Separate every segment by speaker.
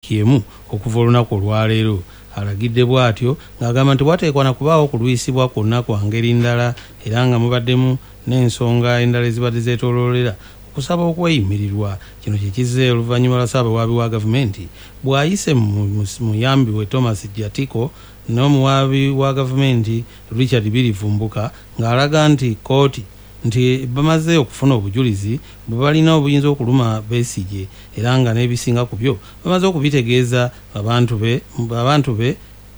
Speaker 1: wiiki emu okuva olunaku olwaleero. Alagidde bw'atyo ng'agamba nti wateekwa na kubaawo okulwisibwa kwonna kwa ngeri ndala era nga mubaddemu n'ensonga endala ezibadde zeetooloolera okusaba okweyimirirwa. Kino kye kizze oluvannyuma lwa Ssaabawaabi wa gavumenti bw'ayise mu muyambi we Thomas Jatiko n'omuwaabi wa gavumenti Richard Birivumbuka ng'alaga nti kkooti nti bamaze okufuna obujulizi bwe balina obuyinza okuluma Besigye era nga n'ebisinga ku byo bamaze okubitegeeza abantu be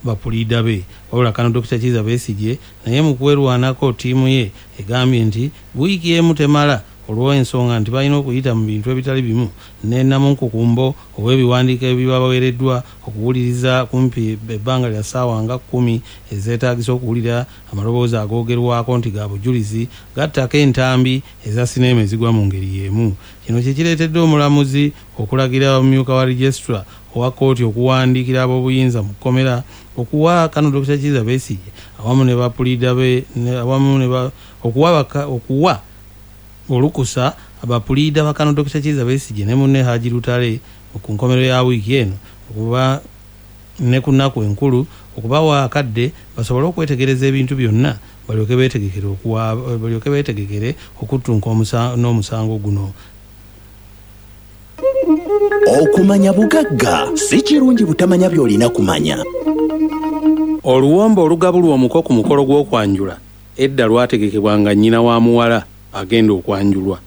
Speaker 1: bapuliida be. Wabula Kano Dokita Kizza Besigye naye mu kwerwanako ttiimu ye egambye nti wiiki emu temala olw'ensonga nti balina okuyita mu bintu ebitali bimu ne namunkukumbo ow'ebiwandiiko ebibaweereddwa okuwuliriza kumpi ebbanga lya ssaawa nga 10 ezeetaagisa okuwulira amaloboozi agoogerwako nti ga bujulizi gattako entambi eza sineema ezigwa mu ngeri y'emu. Kino kye kireetedde omulamuzi okulagira omumyuka wa registrar owa kkooti okuwandiikira ab'obuyinza mu kkomera okuwa Kano Dokita Kizza Besigye awamu ne bapuliida be awamu ne okuwa olukusa abapuliida ba Kano Dokita Kizza Besigye ne munne Haji Lutale ku nkomerero ya wiiki eno okuba ne ku nnaku enkulu okubawa akadde basobole okwetegereza ebintu byonna balyoke beetegekere okuttunka n'omusango guno.
Speaker 2: Okumanya bugagga si kirungi butamanya by'olina kumanya.
Speaker 1: Oluwombo olugabulwa omuko ku mukolo gw'okwanjula edda lwategekebwanga nnyina wa muwala agenda okwanjulwa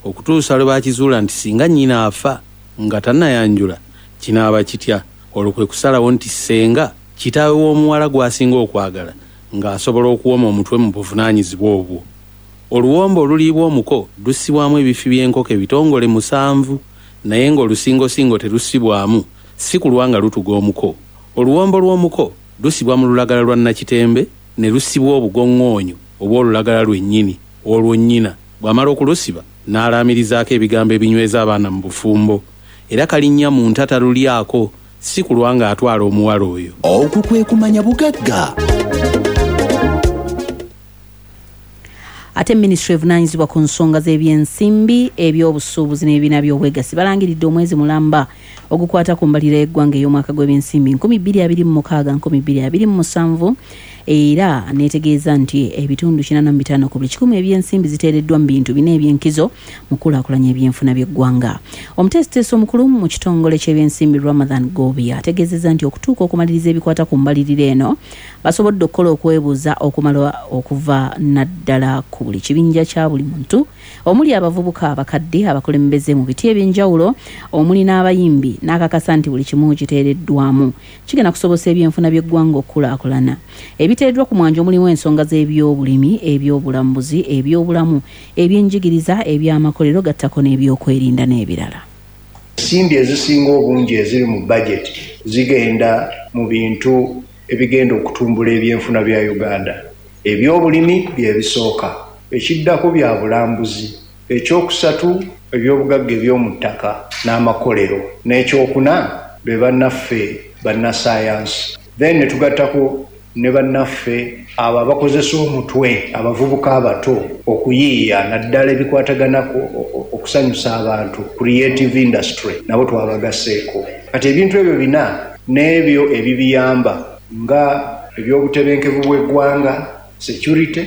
Speaker 1: okutuusa lwe bakizuula nti singa nnyina afa nga tannayanjula kinaaba kitya, olwo kwe kusalawo nti ssenga kitaawe w'omuwala gw'asinga okwagala ng'asobola okuwoma omutwe mu buvunaanyizibwa obwo. Oluwombo oluliibwa omuko lussibwamu ebifi by'enkoko ebitongole 7 naye ng'olusingosingo terussibwamu si kulwa nga lutuga omuko. Oluwombo lw'omuko lusibwa mu lulagala lwa Nakitembe ne lusibwa obugoŋŋoonyo obw'olulagala lwennyini olwo nnyina bw'amala okulusiba n'alaamirizaako ebigambo ebinyweza abaana mu bufumbo era kalinnya mu nta talulyako si kulwa ng'atwala omuwala oyo.
Speaker 2: Okwo kwe kumanya bugagga.
Speaker 3: Ate minisitule evunaanyizibwa ku nsonga z'ebyensimbi, ebyobusuubuzi n'ebibiina by'obwegassi balangiridde omwezi mulamba ogukwata ku mbalirira y'eggwanga ey'omwaka gw'ebyensimbi 2026-2027 era neetegeeza nti ebitundu 85 ku buli kikumi ebyensimbi ziteereddwa mu bintu bina ebyenkizo mu kukulaakulanya ebyenfuna by'eggwanga. Omuteesiteesi omukulu mu kitongole ky'ebyensimbi Ramadhan Gobi ategeezezza nti okutuuka okumaliriza ebikwata ku mbalirira eno basobodde okukola okwebuuza okumala okuva naddala ku buli kibinja kya buli muntu omuli abavubuka, abakadde, abakulembeze mu biti ebyenjawulo omuli n'abayimbi n'akakasa nti buli kimu kiteereddwamu kigenda kusobosa ebyenfuna by'eggwanga okukulaakulana. Ebiteereddwa ku mwanjo mulimu ensonga z'ebyobulimi, ebyobulambuzi, ebyobulamu, ebyenjigiriza, ebyamakolero gattako n'ebyokwerinda n'ebirala.
Speaker 4: Ensimbi ezisinga obungi eziri mu bajeti zigenda mu bintu ebigenda okutumbula ebyenfuna bya Uganda. Ebyobulimi bye bisooka, ekiddako bya bulambuzi, ekyokusatu ebyobugagga eby'omu ttaka n'amakolero, n'ekyokuna be bannaffe bannasayansi. Then ne tugattako ne bannaffe abo abakozesa omutwe, abavubuka abato okuyiiya naddala ebikwatagana okusanyusa abantu, creative industry, nabo twabagaseeko. Kati ebintu ebyo bina n'ebyo ebibiyamba nga ebyobutebenkevu bw'eggwanga, security,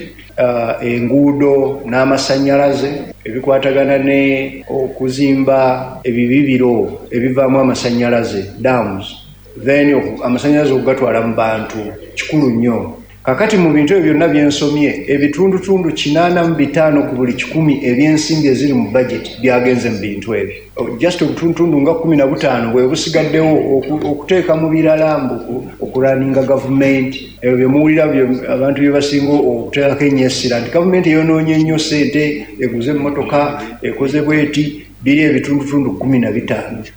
Speaker 4: enguudo n'amasannyalaze, ebikwatagana ne okuzimba ebibibiro ebivaamu amasannyalaze, dams, then amasannyalaze okugatwala mu bantu kikulu nnyo. Kakati mu bintu ebyo byonna byensomye, ebitundutundu 85 ku buli kikumi ebyensimbi eziri mu budget byagenze mu bintu ebyo. Just obutundutundu nga 15 bwe busigaddewo okuteeka mu birala mbu okuraninga gavumenti. Ebyo bye muwulira abantu bye basinga okuteekako ennyo essira nti gavumenti eyonoonye nnyo ssente, eguze emmotoka, ekoze bweti, biri ebitundutundu 15.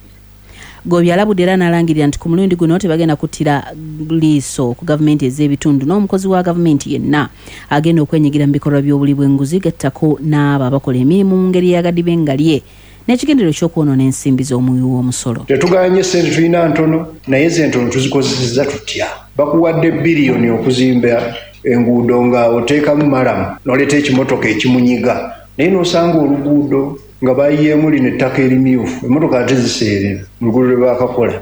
Speaker 3: Gobi alabudde era n'alangirira nti ku mulundi guno tebagenda kuttira liiso ku gavumenti ez'ebitundu n'omukozi wa gavumenti yenna agenda okwenyigira mu bikolwa by'obuli bw'enguzi gattako n'abo abakola emirimu mu ngeri y'agadibengalye n'ekigendererwa eky'okwonoona ensimbi z'omuwi w'omusolo.
Speaker 4: Tetuganye ssente tulina ntono, naye ze ntono tuzikozesezza tutya? Bakuwadde biliyoni okuzimba enguudo nga oteekamu malamu n'oleeta ekimotoka ekimunyiga, naye n'osanga oluguudo nga bayiyeemu lino ettaka erimyufu, emmotoka ate ziseerera mu luguudo lwe baakakola.